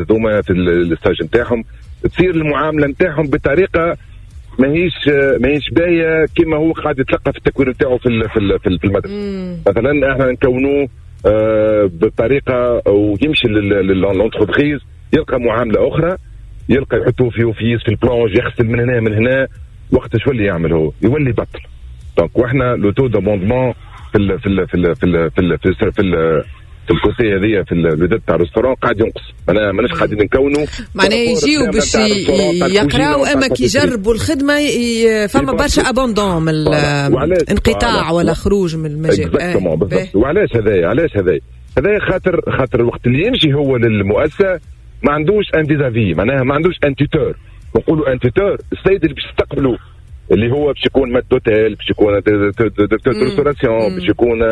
هذوما في ال stage نتاعهم تصير المعاملة نتاعهم بطريقة ماهيش باهيه كما هو قاعد يتلقى في التكوين نتاعو في المدرسه. مثلا احنا نكونوه بطريقة ويمشي لل entreprise يلقى معاملة اخرى، يلقى يحطوه في office في ال plonge، يغسل من هنا من هنا، وقت شو اللي يعمل هو؟ يولي بطل. donc واحنا le taux d'abandon في ال في ال في ال في ال في ال في ال في, ال في ال côté هذيا في الوداد تاع restaurant قاعد ينقص، معناها ماناش قاعدين نكونوا. معناها يجيو باش يقراو، اما كي يجربوا الخدمة فما برشا abandon من انقطاع ولا خروج من المجال. بالضبط. وعلاش هذايا؟ علاش هذايا؟ هذايا خاطر الوقت اللي يمشي هو للمؤسسه ما عندوش un vis-à-vis، معناها ما عندوش un tuteur. نقولوا un tuteur، السيد اللي باش يستقبلوا اللي هو باش يكون maître d'hôtel، باش يكون directeur restauration، باش يكون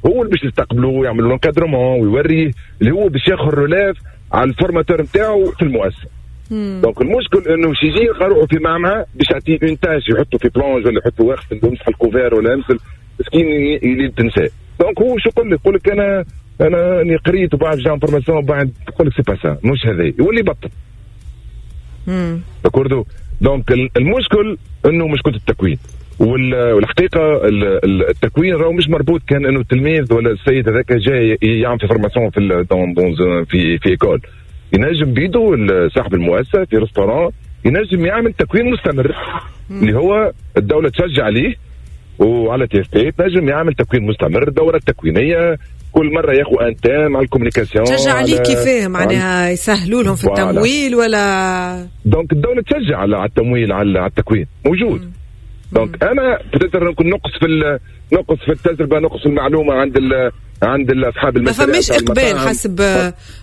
هو اللي باش يستقبلوا ويعمل l'encadrement ويوريه، اللي هو باش ياخذ relève على ال formateur نتاعو في المؤسسه. donc المشكل انه باش يجي يلقى روحه في معمعة، باش يعطيه une tâche، يحطه في plonge ولا يحطه واقف يمسح ال couvert ولا يمسح، مسكين يلي تنساه. donc هو شو يقول لك؟ يقول لك انا اني قريت وبعد j'ai formation، بعد يقول لك c'est pas ça، مش هذا، يولي بطل. d'accord. donc المشكل انه مشكلة التكوين، والحقيقة التكوين راهو مش مربوط كان انه التلميذ ولا السيد هذاك جاي يعمل في formation في dans في في école. ينجم بيدو صاحب المؤسسة في restaurant ينجم يعمل تكوين مستمر اللي هو الدولة تشجع عليه وعلى TFP، تنجم يعمل تكوين مستمر، دوره تكوينيه كل مرة ياخذ un thème على ال communication. تشجع عليه كيفاه؟ معناها يسهلوا لهم في التمويل ولا؟ donc الدولة تشجع على التمويل، على التكوين موجود. donc انا peut-être نكون نقص في التجربه، نقص في المعلومة عند اصحاب ما فماش اقبال حسب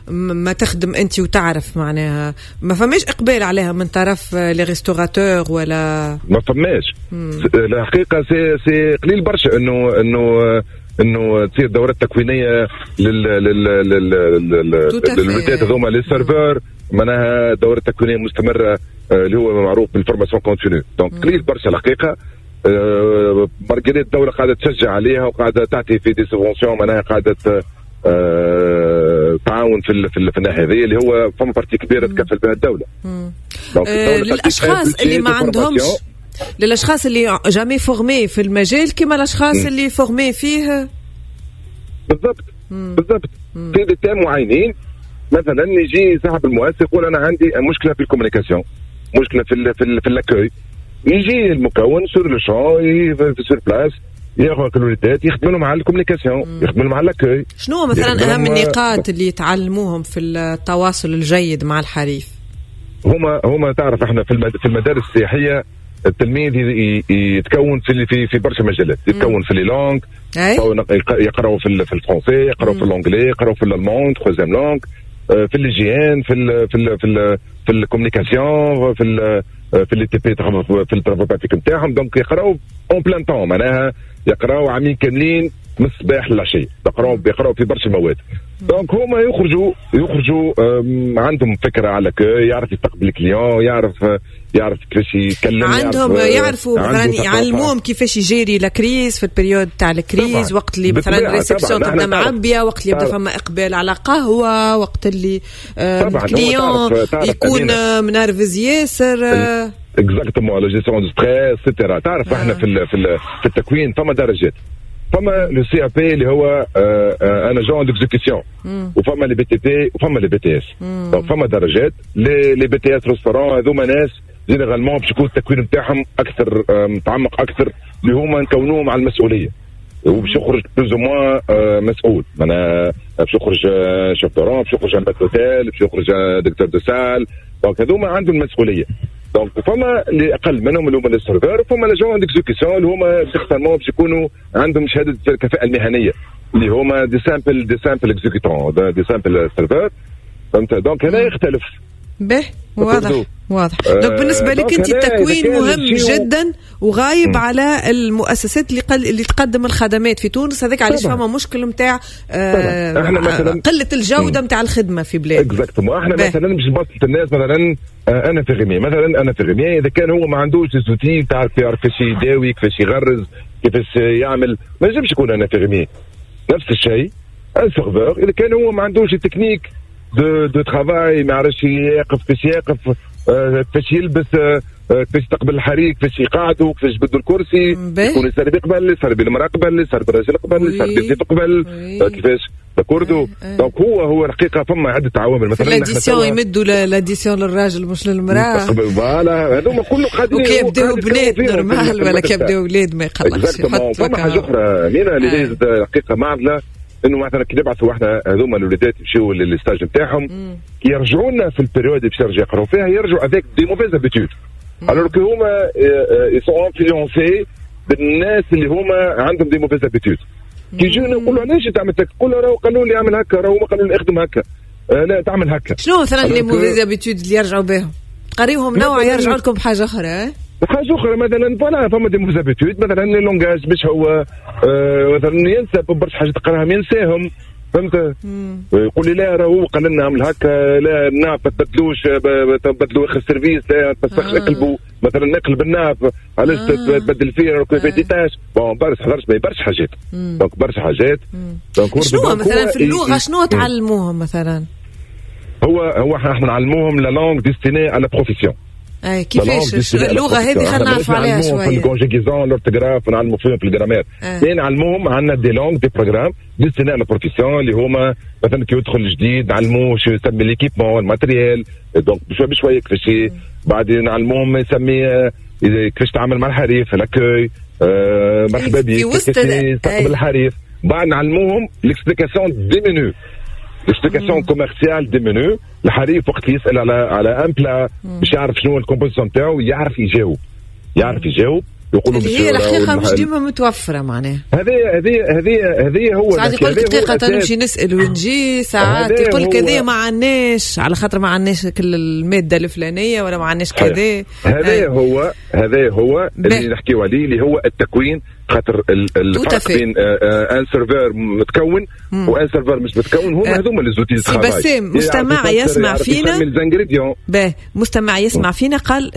ما تخدم انت وتعرف، معناها ما فماش اقبال عليها من طرف les restaurateurs ولا؟ ما فماش الحقيقه، c'est قليل برشا انه تصير دورات تكوينيه للوليدات هذوما les serveurs، معناها دورات تكوينيه مستمرة اللي هو معروف بال formation continue. donc قليل برشا الحقيقه، malgré الدولة قاعدة تشجع عليها وقاعدة تعطي في des subventions، معناها قاعدة تعاون في الناحية هذه اللي هو فما partie كبيرة تكفل بها الدوله. للاشخاص اللي ما عندهمش، للاشخاص اللي jamais formés في المجال كما الاشخاص اللي formés فيه. بالضبط. في des thèmes معينين، مثلا يجي صاحب المؤسسة يقول انا عندي مشكلة في ال communication، مشكلة في l'accueil، يجي المكون sur le champ، sur place، ياخذ الوليدات يخدم لهم على ال communication، يخدم لهم على l'accueil. شنو مثلا اهم النقاط اللي يتعلموهم في التواصل الجيد مع الحريف؟ هما تعرف احنا في المدارس السياحية التلميذ يتكون في برشا مجالات، يتكون في les langues، يقراوا في ال français، يقراوا في l'anglais، يقراوا في l'allemand troisième langue، في l'hygiène، في ال communication، في les TP، في ال travaux pratiques نتاعهم. donc يقراو en plein temps، معناها يقراو عامين كاملين من الصباح للعشيه، يقراو في برشا مواد. donc هما يخرجوا عندهم فكرة على l'accueil، يعرف يستقبل ال client، يعرف كيفاش يتكلم. عندهم يعرفوا مثلا يعلموهم كيفاش يجيري la crise، في ال période تاع ال crise، وقت اللي مثلا réception تبدا معبيه، وقت اللي يبدا فما اقبال على قهوه، وقت اللي ال client يكون منرفز ياسر. exactement، la gestion de stress et cetera. تعرف احنا في التكوين فما درجات، فما le CAP اللي هو un agent d'exécution، وفما les BTP وفما les BTS. donc فما درجات. les BTS restaurant هذوما ناس généralement باش يكون التكوين نتاعهم اكثر متعمق اكثر، اللي هما نكونوهم على المسؤولية وباش يخرج plus ou moins مسؤول، معناها باش يخرج chef de rang، باش يخرج maître d'hôtel، باش يخرج directeur de salle. donc هذوما عندهم المسؤوليه. donc فما اللي اقل منهم اللي هما les serveurs، وفما les agents d'exécution اللي هما certainement باش يكونوا عندهم شهادة الكفاءة المهنيه، اللي هما des simples exécutants، des simples serveurs، فهمت؟ donc هنا يختلف. به، واضح. donc بالنسبة لك انت التكوين مهم جدا وغايب على المؤسسات اللي تقدم الخدمات في تونس، هذاك علاش فما مشكل نتاع قلة الجودة نتاع الخدمة في بلاد. exactement. احنا مثلا باش نبسط الناس، مثلا un infirmier، مثلا un infirmier اذا كان هو ما عندوش outils، تعرف، يعرف كيفاش يداوي، كيفاش يغرز، كيفاش يعمل، ما ينجمش يكون un infirmier. نفس الشيء un serveur اذا كان هو ما عندوش التكنيك. de travail، ما يعرفش يقف، كيفاش يقف، كيفاش يلبس، كيفاش يستقبل الحريق، كيفاش يقعدوا، كيفاش يبدلوا الكرسي، يكون يسربي قبل، يسربي المراة قبل، يسربي الراجل قبل، يسربي الضيف قبل، كيفاش d'accord. donc هو الحقيقة فما عده عوامل. مثلا l'addition، يمدوا l'addition للراجل مش للمراة. voilà، هذوما كله قاعدين. وكي يبداو بنات normal، ولا كي يبداو اولاد ما يقلقش. فما حاجة اخرى مينا اللي هي الحقيقة معضله، انه مثلا كي نبعثوا احنا هذوما الوليدات يمشيو لل stage نتاعهم، كي يرجعوا لنا في ال période باش يرجعوا يقراو فيها، يرجعوا avec des mauvaises habitudes، alors que هما ils sont influencés بالناس اللي هما عندهم des mauvaises habitudes. كي يجيو نقولوا علاش انت عملت هكا، نقولوا راهو قالوا لي اعمل هكا، راهو قالوا لي اخدم هكا، لا تعمل هكا. شنو مثلا les mauvaises habitudes اللي يرجعوا بهم؟ تقريهم نوع يرجعوا لكم بحاجة اخرى. حاجة اخرى مثلا voilà، فما des mauvaises habitudes، مثلا langage باش هو مثلا ينسى برشا حاجات تقراهم ينساهم، فهمت؟ يقول لي لا راهو قال لنا اعمل هكا، لا ال nappe ما تبدلوش، تبدلوا اخر service، لا تفسخش، اقلبوا مثلا نقلب ال nappe، علاش تبدل فيه راهو في des tâches. bon برشا حاجات، donc برشا حاجات. donc شنو مثلا في اللغة شنو تعلموهم مثلا؟ هو احنا نعلموهم la langue destinée à la profession. اي كيفاش اللغة هذه؟ خلينا نعرف عليها شوية. في ال conjugaison، l'orthographe، نعلموا فيهم في ال grammaire، نعلموهم عندنا des langues، des programmes destinés à la profession، اللي هما مثلا كي يدخل جديد نعلموه شو يسمي l'équipement، ال matériel، donc بشوي بشوي كيفاش. بعدين نعلموهم يسمي كيفاش تعامل مع الحريف، l'accueil، مرحبا بك، كيفاش يستقبل الحريف. بعد نعلموهم l'explication des menus، l'explication commerciale des menus. الحريف وقت يسال على un plat باش يعرف شنو ال composition تاعو، يعرف يجاوب، يعرف يجاوب. يقولوا هي الحقيقة مش ديما متوفرة معناها. هذه هو ساعات يقول لك دقيقة نمشي نسال ونجي، ساعات يقول لك هذه ما عندناش، على خاطر ما عندناش كل المادة الفلانية ولا ما عندناش كذا. هذا هو اللي نحكيو عليه، اللي هو التكوين. خاطر الفرق بين un serveur متكون و un serveur مش متكون، هما هذوما les outils. سي بسام، مستمع يسمع فينا، مستمع يسمع فينا قال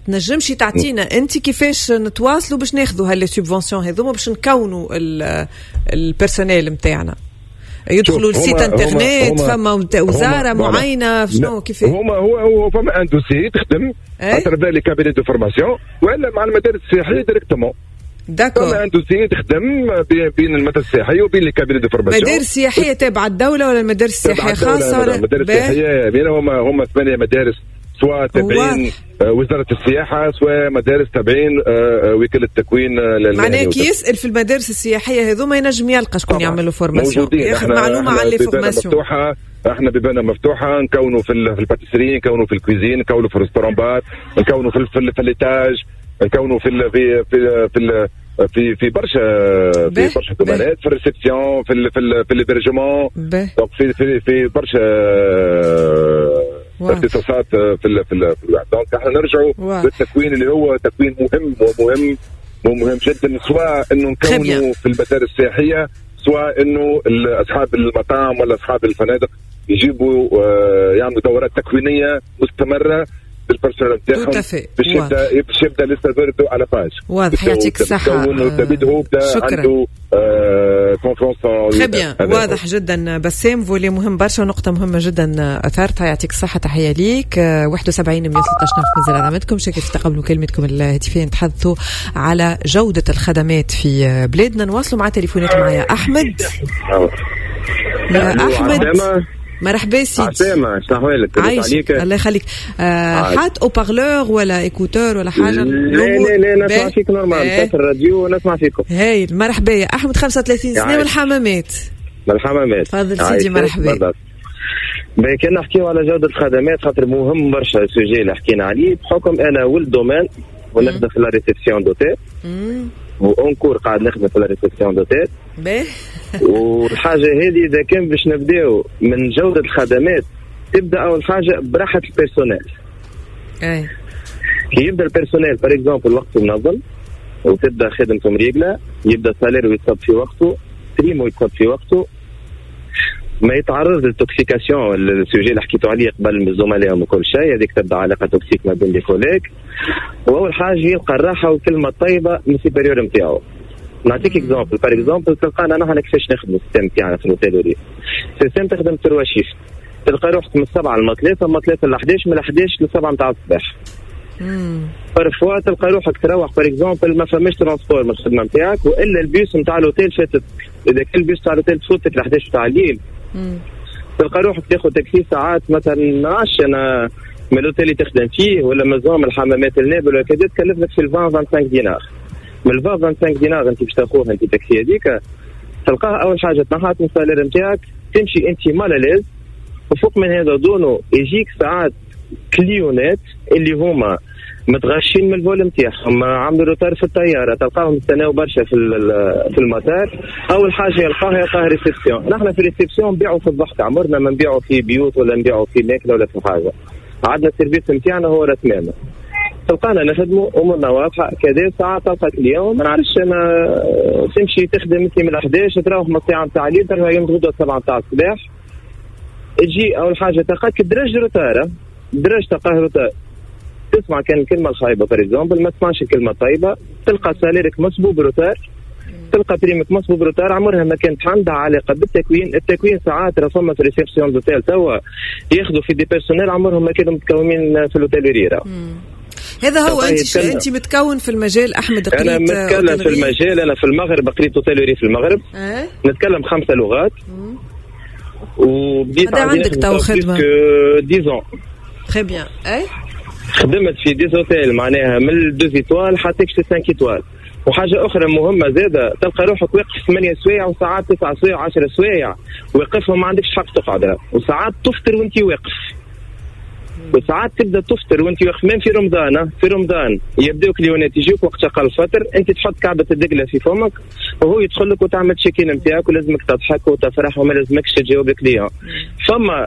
تنجمش تعطينا انت كيفاش نتواصلوا باش ناخذوا ها les subventions هذوما باش نكونوا ال personnel نتاعنا؟ يدخلوا ال site internet، فما وزارة معينة، شنو كيفاش؟ هما هو فما un dossier تخدم à travers les cabinets de formation ولا مع المدارس السياحية directement. d'accord، فما un dossier تخدم بين المدارس السياحية وبين les cabinets de formation. مدارس سياحية تابعه الدولة ولا المدارس السياحية خاصة؟ ولا المدارس السياحية هما 8 مدارس، سواء تابعين وزارة السياحة، سواء مدارس تابعين وكالة التكوين. معناها كي يسأل في المدارس السياحية هذوما ينجم يلقى شكون يعملوا formation، ياخذ معلومة على les formations. احنا بيبانا مفتوحة، نكونوا في ال pâtisserie، نكونوا في ال cuisine، نكونوا في ال restaurant bar، نكونوا في l'étage، نكونوا في في في في في في برشا في برشا domaine ات، في ال réception، في l'hébergement، donc في برشا اختصاصات في donc احنا نرجعوا للتكوين اللي هو تكوين مهم ومهم ومهم جدا، سواء انه نكونوا في المدارس السياحية، سواء انه اصحاب المطاعم ولا اصحاب الفنادق يجيبوا يعملوا دورات تكوينيه مستمرة بال personnel نتاعهم باش يبدا le serveur à la page. واضح، يعطيك الصحة. شكرا. عنده confiance. très bien، واضح جدا بسام، volet مهم برشا ونقطة مهمة جدا اثرتها، يعطيك الصحة، تحية ليك. 71 113 مازال علامتكم، شكرا في تقبلوا كلمتكم الهاتفية، نتحدثوا على جودة الخدمات في بلادنا. نواصلوا مع تليفونات معايا أحمد. يا أحمد مرحبا سيدي. عسلامة، شنو أحوالك؟ عايشك الله يخليك. حاط haut-parleur ولا écouteur ولا حاجة؟ لا لا لا، نسمع فيك normal، في الراديو نسمع فيكم. هايل، مرحبا يا أحمد، 35 سنة من الحمامات. من الحمامات. تفضل سيدي، مرحبا. كان نحكيو على جودة الخدمات خاطر مهم برشا ال sujet اللي حكينا عليه، بحكم أنا ولد domaine ونخدم في la réception d'hôtel، و encore قاعد نخدم في la réception d'hôtel. والحاجة هذه إذا كان باش نبداو من جودة الخدمات، تبدأ أول حاجة براحة ال personnel. أي. كي يبدأ ال personnel par exemple وقته منظم، وتبدأ خدمته مريقلة، يبدأ salaire يتصب في وقته، prime و يتصب في وقته، ما يتعرض لل toxication، ال sujet اللي حكيتو عليه قبل من الزملاء وكل شيء، هذيك تبدا علاقة toxique ما بين les collègues. واول حاجة يلقى الراحة والكلمة الطيبة من supérieur نتاعو. نعطيك exemple، par exemple تلقانا نحن كيفاش نخدموا ال système تاعنا في l'hôtellerie. ال système تخدم trois shifts، تلقى روحك من 7 ل 3، من 3 ل 11، من 11 ل 7 نتاع الصباح. parfois تلقى روحك تروح par exemple ما فماش transport من الخدمة نتاعك، والا البيس نتاع l'hôtel فاتت. اذا كان البيس نتاع l'hôtel تفوتك ل 11 نتاع الليل، تلقى روحك تاخذ تاكسي ساعات مثلا نعرفش انا من l'hôtel اللي تخدم فيه ولا مزوم الحمامات النابل ولا كذا، تكلف لك في 20 25 دينار. من 20 25 دينار انت باش تاخوها انت تاكسي هذيك، تلقاها اول حاجة تنحات من ال salaire نتاعك، تمشي انت mal à l'aise. وفوق من هذا دونو يجيك ساعات client ات اللي هما متغشين من ال vol نتاعهم، عملوا retard في الطيارة، تلقاهم يستناو برشا في المطار. اول حاجة يلقاها réception. نحن في réception نبيعوا في الضحك، عمرنا ما نبيعوا في بيوت ولا نبيعوا في ماكله ولا في حاجة. عندنا ال service نتاعنا هو رسمنا، تلقانا نخدموا امورنا واضحة كذا. ساعات تلقى client ما نعرفش انا، تمشي تخدم انت من 11 تروح من الساعة نتاع الليل، ترجع يوم غدوه 7 نتاع الصباح. تجي اول حاجة تلقاك درج retard، درج تلقاه retard، تسمع كان الكلمة الخايبة par exemple، ما تسمعش الكلمة الطيبة، تلقى salaire ك مصبوب retard، تلقى prime ك مصبوب retard. عمرها ما كانت عندها علاقة بالتكوين. التكوين ساعات راه فما في réception d'hôtel توا ياخذوا في des personnels عمرهم ما كانوا متكونين في l'hôtellerie. هذا هو. انت متكون في المجال احمد؟ قريت انا متكلم في المجال، انا في المغرب قريت hôtellerie في المغرب. نتكلم 5 لغات. وبديت عندك تو خدمة 10 très bien. اي خدمت في des hôtels معناها من 2 étoiles حتى 5 étoiles. وحاجه اخرى مهمة زاده، تلقى روحك واقف 8 سوايع وساعات 9 سوايع 10 سوايع واقفهم، ما عندكش حق تقعد. وساعات تفطر وانت واقف، وساعات تبدا تفطر وانت واقف. même في رمضان، في رمضان يبداو client ات يجيوك وقت اقل فطر، انت تحط كعبه الدقله في فمك وهو يدخل لك وتعمل check-in نتاعك، ولازمك تضحك وتفرح وما لازمكش تجاوب client. فما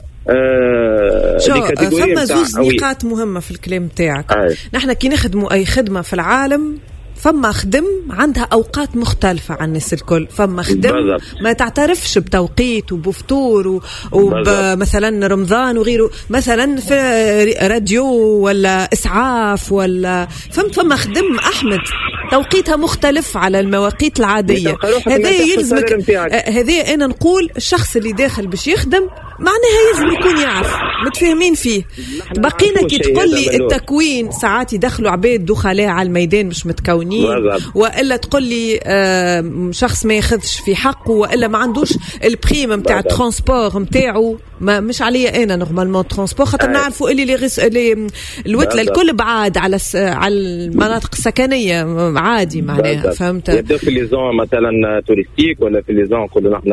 فما زوز نقاط مهمة في الكلام تاعك. نحن كي نخدموا اي خدمة في العالم، فما خدم عندها أوقات مختلفة عن الناس الكل، فما خدم ما تعترفش بتوقيت وبفطور ومثلا رمضان وغيره، مثلا في راديو ولا إسعاف ولا فهمت. فما خدم أحمد توقيتها مختلف على المواقيت العادية. هذا يلزمك، هذا أنا نقول الشخص اللي داخل باش يخدم معناها يلزم يكون يعرف، متفاهمين فيه. بقينا كي تقول لي التكوين ساعات يدخلوا عباد دخلاء على الميدان مش متكونين، والا تقول لي شخص ما ياخذش في حقه، والا ما عندوش ال prime نتاع ال transport نتاعو. ما مش عليا انا normalement transport، خاطر نعرفوا اللي الوتله الكل بعاد على المناطق السكنية عادي معناها، فهمت. يبدا في les zones مثلا touristiques ولا في les zones نقولوا نحن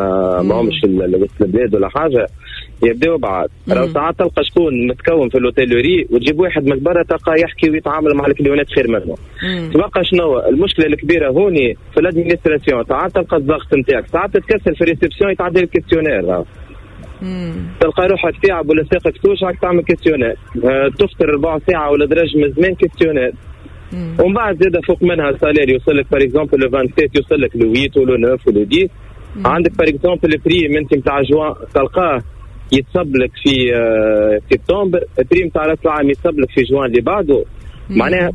ماهمش وسط البلاد ولا حاجة، يبداو بعاد. راهو ساعات تلقى شكون متكون في l'hôtellerie وتجيب واحد من برا تلقى يحكي ويتعامل مع ال client ات خير منه. تبقى شنو المشكلة الكبيرة هوني في l'administration، ساعات تلقى الضغط نتاعك، ساعات تتكسر في réception يتعدل ال questionnaire، تلقى روحك تعب ولا ساقك توجعك تعمل questionnaire، تفطر ربع ساعة ولا درج من زمان questionnaire. ومن بعد زاد فوق منها ال salaire يوصل لك par exemple le 27 يوصل لك le 8 ولا 9 ولا 10. عندك par exemple ال prime انت نتاع جوان تلقاه يتصب لك في سبتمبر، ال prime تاع راس العام يتصب لك في جوان اللي بعده. معناها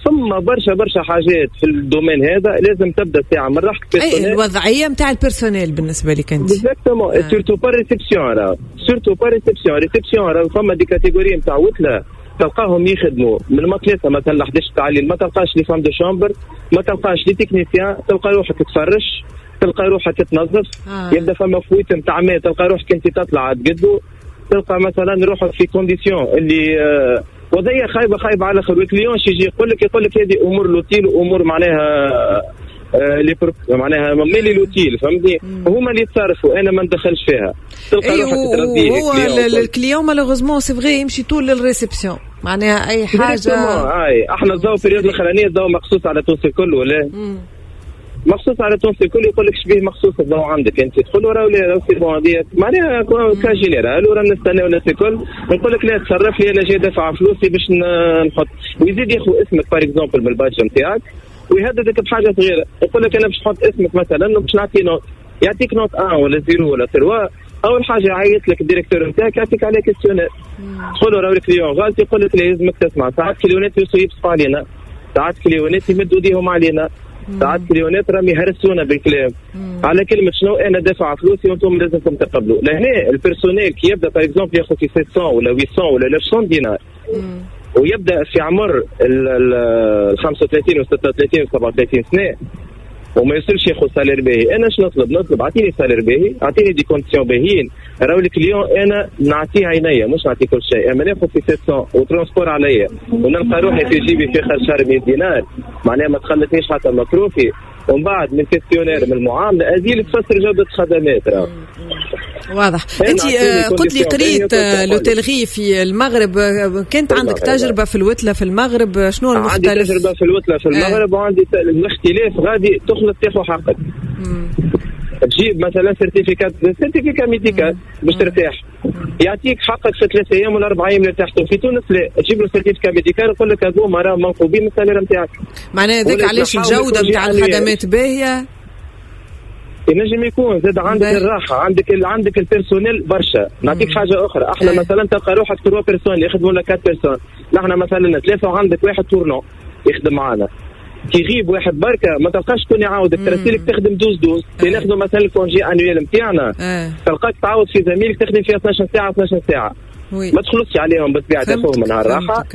ثم برشا برشا حاجات في ال domaine هذا لازم تبدا ساعة من راحتك. اي الوضعية نتاع ال personnel بالنسبة لك انت exactement، surtout pas réception، راه surtout pas réception. réception راه فما des catégories نتاع وتله تلقاهم يخدموا من ما 3 مثلا 11 تاع الليل، ما تلقاش les femmes de chambre، ما تلقاش les techniciens، تلقى روحك تفرش، تلقى روحك تنظف. يبدا فما fuite نتاع ماء تلقى روحك انت تطلع تقدو، تلقى مثلا روحك في conditions اللي وضعية خايبة خايبة على الاخر. وال client يجي يقول لك هذه امور l'hôtel وامور معناها معناها مالي l'hôtel، فهمتني؟ هما اللي يتصرفوا، انا ما ندخلش فيها. تلقى روحك تربيه. هو ال client malheureusement c'est vrai يمشي طول لل réception، معناها اي حاجة. اي احنا الضوء période الاخرانية الضوء مقصوص على تونس الكل ولا مخصوص على تونس الكل، يقول لك شبيه مخصوص الضوء عندك انت، تدخل وراه ولا راه c'est bon هذه معناها cas général وراه نستناو الناس الكل. نقول لك لا تصرف لي انا جاي دافع فلوسي باش نحط، ويزيد ياخذ اسمك par exemple من ال badge نتاعك ويهددك بحاجة صغيرة، يقول لك انا باش نحط اسمك مثلا وباش نعطي note، يعطيك note 1 ولا 0 ولا 3. اول حاجة يعيط لك ال directeur نتاعك يعطيك عليه questionnaire، تقول له راه ال client غلط، يقول لك لازمك تسمع. ساعات client ات يبصقوا علينا، ساعات client ات يمدوا ايديهم علينا. ساعات client ات راهم يهرسونا بالكلام على كلمة شنو انا دافع فلوسي وانتم لازمكم تقبلوا. لهنا ال personnel كي يبدا par exemple ياخذ في 700 ولا 800 ولا 900 دينار ويبدا في عمر ال 35 و 36 و 37 سنة وما يوصلش ياخذ salaire باهي، انا شنو نطلب؟ نطلب اعطيني salaire باهي، اعطيني des conditions باهيين، راهو ال client انا نعطيه عينيا مش نعطيه كل شيء، اما ناخذ في 700 و transport عليا ونلقى روحي في جيبي في اخر شهر 100 دينار، معناها ما تخلتنيش حتى مصروفي، ومن بعد من questionnaire من المعاملة هذه تفسر جوده الخدمات. راه واضح. انت قلت لي قريت l'hôtellerie في المغرب، كانت عندك تجربه في الوتله في المغرب، شنو المختلف؟ عندي تجربه في الوتله في المغرب وعندي الاختلاف غادي تخلط تاخذ حقك. تجيب مثلا certificat médical باش ترتاح، يعطيك حقك في 3 ايام ولا 4 ايام اللي ارتحتوا. في تونس لا، تجيب له certificat médical يقول لك هذوما راه منقوبين من ال salaire نتاعك. معناها هذاك علاش الجودة نتاع الخدمات باهيه؟ ينجم يكون زاد عندك الراحة، عندك ال personnel برشا. نعطيك حاجة اخرى، احنا مثلا تلقى روحك 3 personnes يخدموا لك 4 personnes، نحن مثلا 3 وعندك واحد tournant يخدم معنا، كي يغيب واحد بركة ما تلقاش شكون يعاودك، ترسلك تخدم douze douze. كي ناخذوا مثلا ال congé annuel نتاعنا تلقاك تعاود في زميلك تخدم فيها 12 ساعة 12 ساعة، ما تخلصش عليهم بالطبيعة، تاخذهم نهار راحة.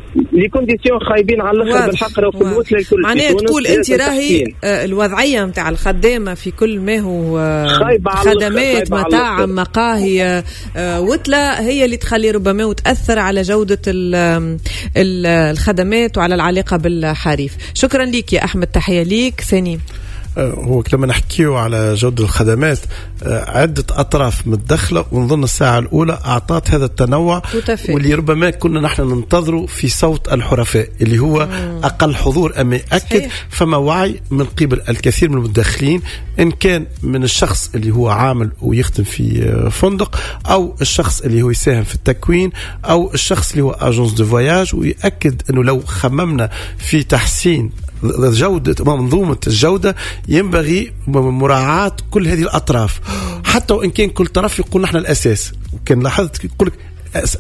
les conditions خايبين على الاخر بالحق راهو في الوتله الكل. معناها تقول انت راهي الوضعية نتاع الخدامة في كل ما هو خدمات مطاعم مقاهي وتله هي اللي تخلي ربما وتاثر على جوده الخدمات وعلى العلاقة بالحريف. شكرا لك يا احمد، تحية ليك. سنيم، هو لما نحكيه على جودة الخدمات عدة أطراف متدخلة، ونظن الساعة الأولى أعطت هذا التنوع واللي ربما كنا نحن ننتظره في صوت الحرفاء اللي هو أقل حضور أما يأكد. فما وعي من قبل الكثير من المتدخلين، إن كان من الشخص اللي هو عامل ويخدم في فندق، أو الشخص اللي هو يساهم في التكوين، أو الشخص اللي هو agence de voyage، ويأكد أنه لو خممنا في تحسين جودة منظومة الجودة ينبغي مراعاة كل هذه الأطراف، حتى وإن كان كل طرف يقول نحن الأساس. وكان لاحظت يقول لك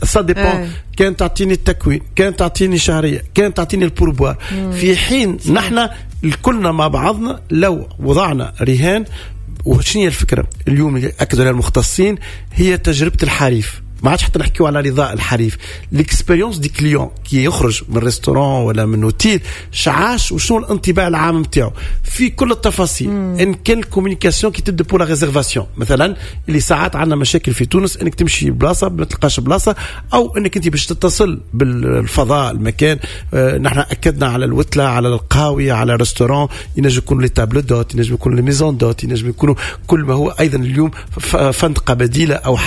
ça dépend، كان تعطيني التكوين، كان تعطيني شهرية، كان تعطيني ال pourboire، في حين نحن الكلنا مع بعضنا لو وضعنا رهان. وشنو هي الفكرة اليوم اللي أكدوا عليها المختصين؟ هي تجربة الحريف. ما عادش حتى نحكيو على رضاء الحريف، l'expérience du client كي يخرج من restaurant ولا من اوتيل شعاش وشنو الانطباع العام نتاعو في كل التفاصيل. ان كان ال communication كي تبدا pour la réservation مثلا، اللي ساعات عندنا مشاكل في تونس انك تمشي بلاصة ما تلقاش بلاصة، او انك انت باش تتصل بالفضاء المكان. نحن اكدنا على الوتله، على القهاوي، على restaurant، ينجم يكونوا les tables d'hôtes، ينجم يكونوا les maisons d'hôtes، ينجم يكونوا كل ما هو ايضا اليوم فندقه بديله او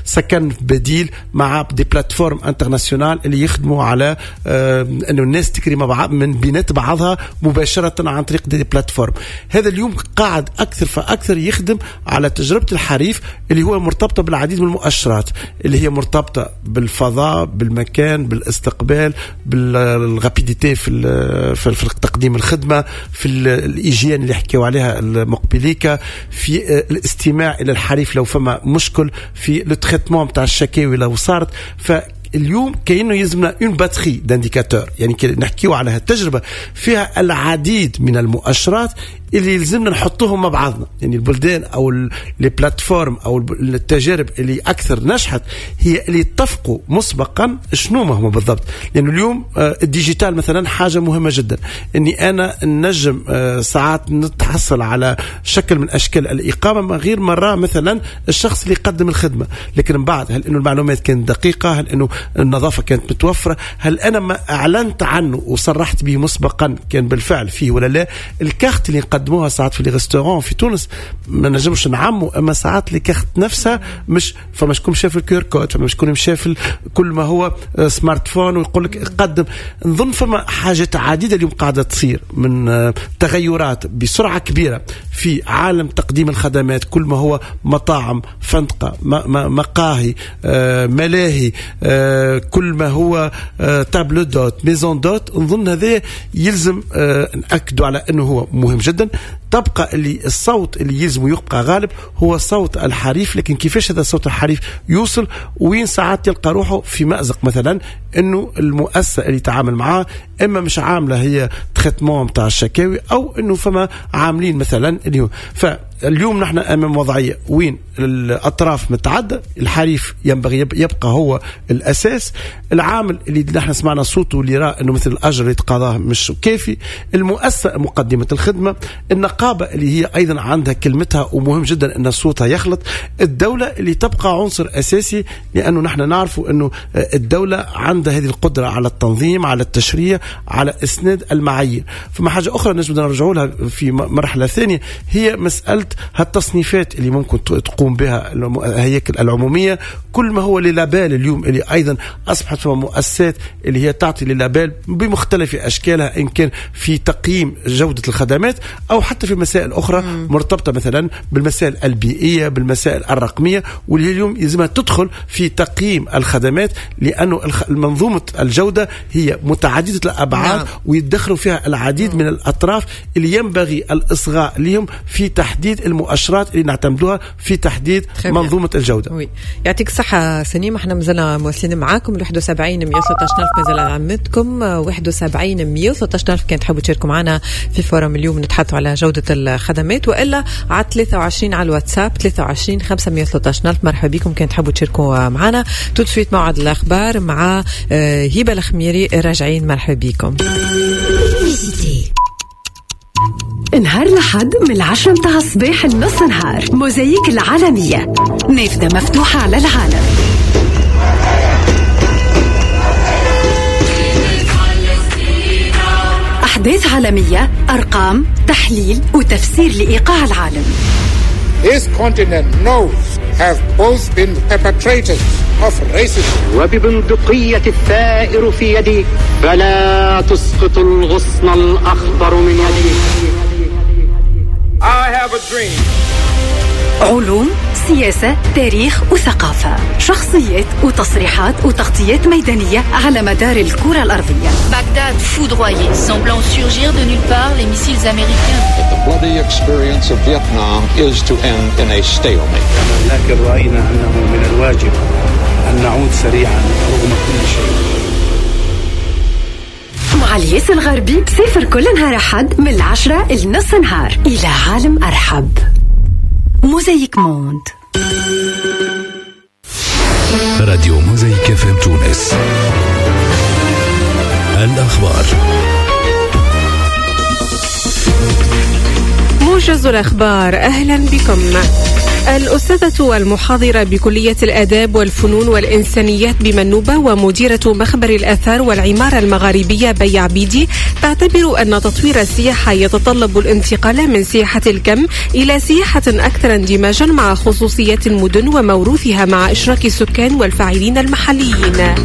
سكن بديل مع des plateformes internationales اللي يخدموا على انه الناس تكري مع بعض من بينات بعضها مباشرة عن طريق des plateformes. هذا اليوم قاعد اكثر فاكثر يخدم على تجربه الحريف اللي هو مرتبطة بالعديد من المؤشرات اللي هي مرتبطة بالفضاء، بالمكان، بالاستقبال، بال rapidité في تقديم الخدمة، في ال hygiène اللي حكيوا عليها المقبليكا، في الاستماع الى الحريف لو فما مشكل، في le traitement تاع الشكاوي لو صارت. فاليوم كأنه يلزمنا une batterie d'indicateurs، يعني نحكيو على هالتجربة فيها العديد من المؤشرات اللي يلزمنا نحطوهم مع بعضنا. يعني البلدان او les plateformes او التجارب اللي اكثر نجحت هي اللي اتفقوا مسبقا شنو ما هما بالضبط. لانه اليوم ال digital مثلا حاجة مهمة جدا، اني انا نجم ساعات نتحصل على شكل من اشكال الاقامة من غير مرة مثلا الشخص اللي يقدم الخدمة، لكن من بعد هل انه المعلومات كانت دقيقة، هل انه النظافة كانت متوفرة، هل انا ما اعلنت عنه وصرحت به مسبقا كان بالفعل فيه ولا لا. الكارت اللي نقدموها ساعات في les restaurants في تونس ما نجمش نعمو، اما ساعات les cartes نفسها مش فما شكون مشى في ال QR code، فما شكون مشى في كل ما هو smartphone ويقول لك قدم. نظن فما حاجات عديدة اليوم قاعدة تصير من تغيرات بسرعة كبيرة في عالم تقديم الخدمات، كل ما هو مطاعم، فندقه، مقاهي، ملاهي، كل ما هو table d'hôte، maison d'hôte. نظن هذا يلزم نأكدوا على انه هو مهم جدا. تبقى اللي الصوت اللي يلزم يبقى غالب هو صوت الحريف. لكن كيفاش هذا الصوت الحريف يوصل؟ وين ساعات تلقى روحه في مأزق، مثلا انه المؤسسة اللي تعامل معاه اما مش عامله هي traitement تاع الشكاوي، او انه فما عاملين مثلا اللي هو. فاليوم نحن امام وضعية وين الاطراف متعددة، الحريف ينبغي يبقى هو الاساس، العامل اللي نحن سمعنا صوته اللي رأى انه مثل الاجر اللي تقاضاه مش كافي، المؤسسة مقدمه الخدمة، النقابة اللي هي ايضا عندها كلمتها ومهم جدا ان صوتها يخلط، الدولة اللي تبقى عنصر اساسي، لانه نحن نعرف انه الدولة عندها هذه القدرة على التنظيم، على التشريع، على اسناد المعايير. فما حاجة اخرى نجم نرجعوا لها في مرحلة ثانية، هي مسالة هالتصنيفات اللي ممكن تقوم بها الهياكل العمومية، كل ما هو les labels اليوم اللي ايضا اصبحت فما مؤسسات اللي هي تعطي les labels بمختلف اشكالها، ان كان في تقييم جوده الخدمات او حتى في مسائل اخرى مرتبطة مثلا بالمسائل البيئية، بالمسائل الرقمية، واللي اليوم يلزمها تدخل في تقييم الخدمات، لانه منظومة الجودة هي متعددة الابعاد. نعم. ويدخلوا فيها العديد من الاطراف اللي ينبغي الاصغاء لهم في تحديد المؤشرات اللي نعتمدوها في تحديد منظومة الجودة. oui. يعطيك الصحة سنيم، احنا مازلنا مواصلين معاكم 71 116 ألف، مازال عمتكم 71 113 ألف كان تحبوا تشاركوا معنا في forum اليوم نتحدثوا على جودة الخدمات، وإلا على 23 على الواتساب 23 513 ألف. مرحبا بكم كان تحبوا تشاركوا معنا. tout de suite موعد الأخبار مع هبة الخميري، راجعين. مرحبا بكم. نهار لحد من 10 متاع الصباح لنص نهار، موزايك العالمية، نافذة مفتوحة على العالم. أحداث عالمية، أرقام، تحليل وتفسير لإيقاع العالم. This continent knows have both been perpetrators of racism. وببندقية الثائر في يدي فلا تسقط الغصن الأخضر من يدي. I have a dream. علوم، سياسة، تاريخ وثقافة، شخصيات وتصريحات وتغطيات ميدانية على مدار الكرة الأرضية. Bagdad foudroyée, semblant surgir de nulle part les missiles américains. The bloody experience of Vietnam is to end in a stalemate. لكن رأينا أنه من الواجب أن نعود سريعا رغم كل شيء. مع الياس الغربي سافر كل نهار أحد من 10 لنص نهار إلى عالم أرحب. موزايك موند. راديو موزايك FM تونس. الأخبار. موجز الأخبار، أهلا بكم. الأستاذة المحاضرة بكلية الآداب والفنون والإنسانيات بمنوبة ومديرة مخبر الآثار والعمارة المغاربية بي عبيدي تعتبر أن تطوير السياحة يتطلب الانتقال من سياحة الكم إلى سياحة أكثر اندماجا مع خصوصيات المدن وموروثها مع إشراك السكان والفاعلين المحليين.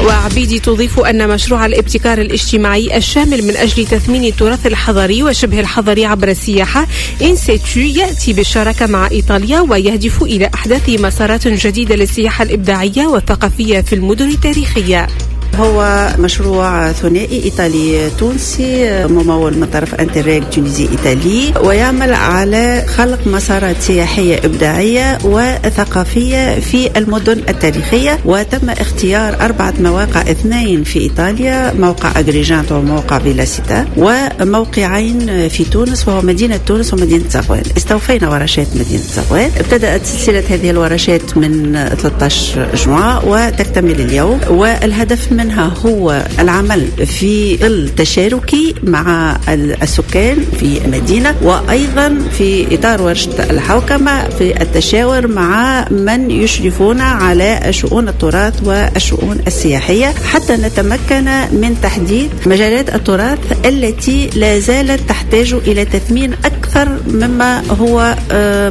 وعبيدي تضيف أن مشروع الابتكار الاجتماعي الشامل من أجل تثمين التراث الحضري وشبه الحضري عبر السياحة إنسيتو يأتي بالشراكة مع إيطاليا ويهدف إلى أحداث مسارات جديدة للسياحة الإبداعية والثقافية في المدن التاريخية. هو مشروع ثنائي إيطالي تونسي ممول من طرف Interreg Tunisie Italie، ويعمل على خلق مسارات سياحية إبداعية وثقافية في المدن التاريخية. وتم اختيار 4 مواقع، 2 في إيطاليا، موقع أغريجانت وموقع فيلاسيتا، وموقعين في تونس وهو مدينة تونس ومدينة زغوان. استوفينا ورشات مدينة زغوان، ابتدأت سلسلة هذه الورشات من 13 جوان وتكتمل اليوم، والهدف منها هو العمل في ظل تشاركي مع السكان في المدينة، وأيضا في إطار ورشة الحوكمة في التشاور مع من يشرفون على شؤون التراث والشؤون السياحية، حتى نتمكن من تحديد مجالات التراث التي لا زالت تحتاج إلى تثمين أكثر مما هو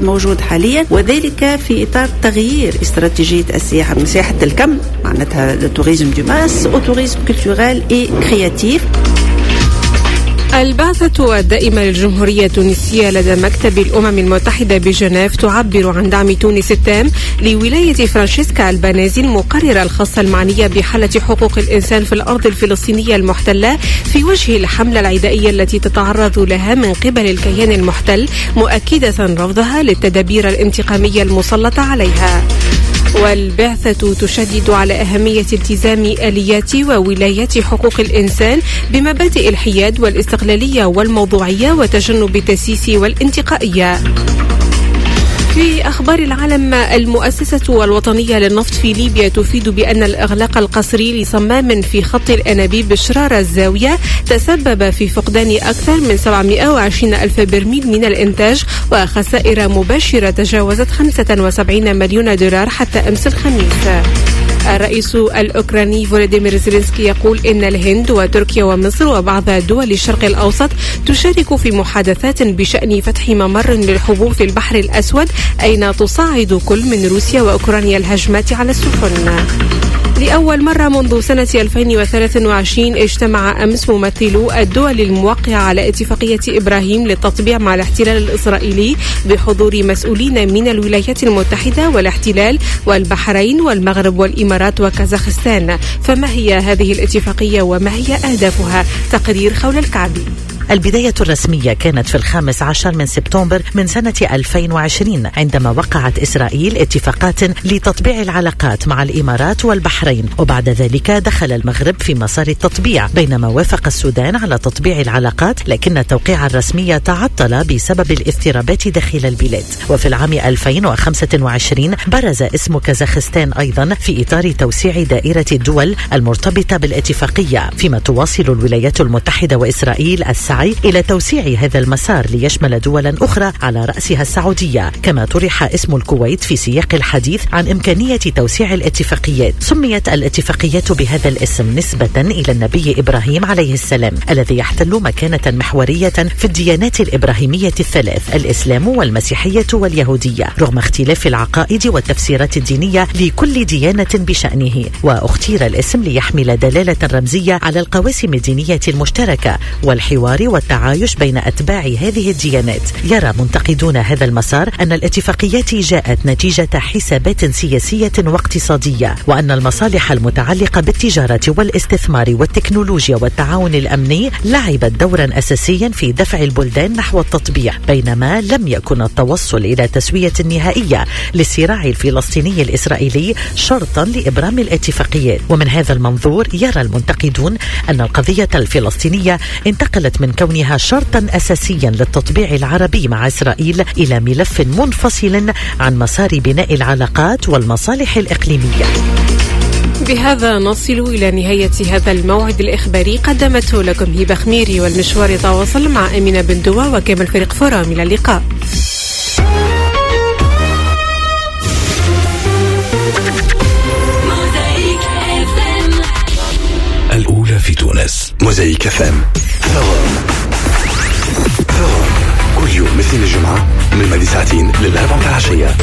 موجود حاليا، وذلك في إطار تغيير استراتيجية السياحة من سياحة الكم، معناتها ال tourisme de masse، au tourisme culturel et créatif. البعثة الدائمة للجمهورية التونسية لدى مكتب الأمم المتحدة بجنيف تعبر عن دعم تونس التام لولاية فرانشيسكا البانيزي المقررة الخاصة المعنية بحالة حقوق الإنسان في الأرض الفلسطينية المحتلة في وجه الحملة العدائية التي تتعرض لها من قبل الكيان المحتل، مؤكدة رفضها للتدابير الانتقامية المسلطة عليها. والبعثة تشدد على أهمية التزام آليات وولايات حقوق الإنسان بمبادئ الحياد والاستقلالية والموضوعية وتجنب التسييس والانتقائية. في أخبار العالم، المؤسسة الوطنية للنفط في ليبيا تفيد بأن الإغلاق القسري لصمام في خط الأنابيب شرارة الزاوية تسبب في فقدان أكثر من 720 ألف برميل من الإنتاج وخسائر مباشرة تجاوزت 75 مليون دولار حتى أمس الخميس. الرئيس الأوكراني فولوديمير زيلينسكي يقول إن الهند وتركيا ومصر وبعض دول الشرق الأوسط تشارك في محادثات بشأن فتح ممر للحبوب في البحر الأسود، أين تصاعد كل من روسيا وأوكرانيا الهجمات على السفن. لأول مرة منذ سنة 2023 اجتمع أمس ممثلو الدول الموقعة على اتفاقية إبراهيم للتطبيع مع الاحتلال الإسرائيلي بحضور مسؤولين من الولايات المتحدة والاحتلال والبحرين والمغرب والإمارات وكازاخستان. فما هي هذه الاتفاقية وما هي أهدافها؟ تقرير خول الكعبي. البداية الرسمية كانت في 15 من سبتمبر من سنة 2020 عندما وقعت إسرائيل اتفاقات لتطبيع العلاقات مع الإمارات والبحرين، وبعد ذلك دخل المغرب في مسار التطبيع، بينما وافق السودان على تطبيع العلاقات، لكن التوقيع الرسمي تعطل بسبب الاضطرابات داخل البلاد. وفي العام 2025 برز اسم كازاخستان أيضا في إطار توسيع دائرة الدول المرتبطة بالاتفاقية، فيما تواصل الولايات المتحدة وإسرائيل السعي إلى توسيع هذا المسار ليشمل دولا أخرى على رأسها السعودية. كما طرح اسم الكويت في سياق الحديث عن إمكانية توسيع الاتفاقيات. سميت الاتفاقيات بهذا الاسم نسبة إلى النبي إبراهيم عليه السلام الذي يحتل مكانة محورية في الديانات الإبراهيمية الثلاث، الإسلام والمسيحية واليهودية، رغم اختلاف العقائد والتفسيرات الدينية لكل ديانة بشأنه. واختير الاسم ليحمل دلالة رمزية على القواسم الدينية المشتركة والحوار والتعايش بين أتباع هذه الديانات. يرى منتقدون هذا المسار أن الاتفاقيات جاءت نتيجة حسابات سياسية واقتصادية، وأن المصالح المتعلقة بالتجارة والاستثمار والتكنولوجيا والتعاون الأمني لعبت دورا أساسيا في دفع البلدان نحو التطبيع، بينما لم يكن التوصل إلى تسوية نهائية للصراع الفلسطيني الإسرائيلي شرطا لإبرام الاتفاقيات. ومن هذا المنظور يرى المنتقدون أن القضية الفلسطينية انتقلت من كونها شرطا أساسيا للتطبيع العربي مع إسرائيل إلى ملف منفصل عن مسار بناء العلاقات والمصالح الإقليمية. بهذا نصل إلى نهاية هذا الموعد الإخباري، قدمته لكم هبة خميري، والمشوار يتواصل مع أمينة بن دوا وكامل فريق فرام. إلى اللقاء. الأولى في تونس، موزايك FM. Forum كل يوم مثل الجمعة من 2 ساعتين للأربعة العشية.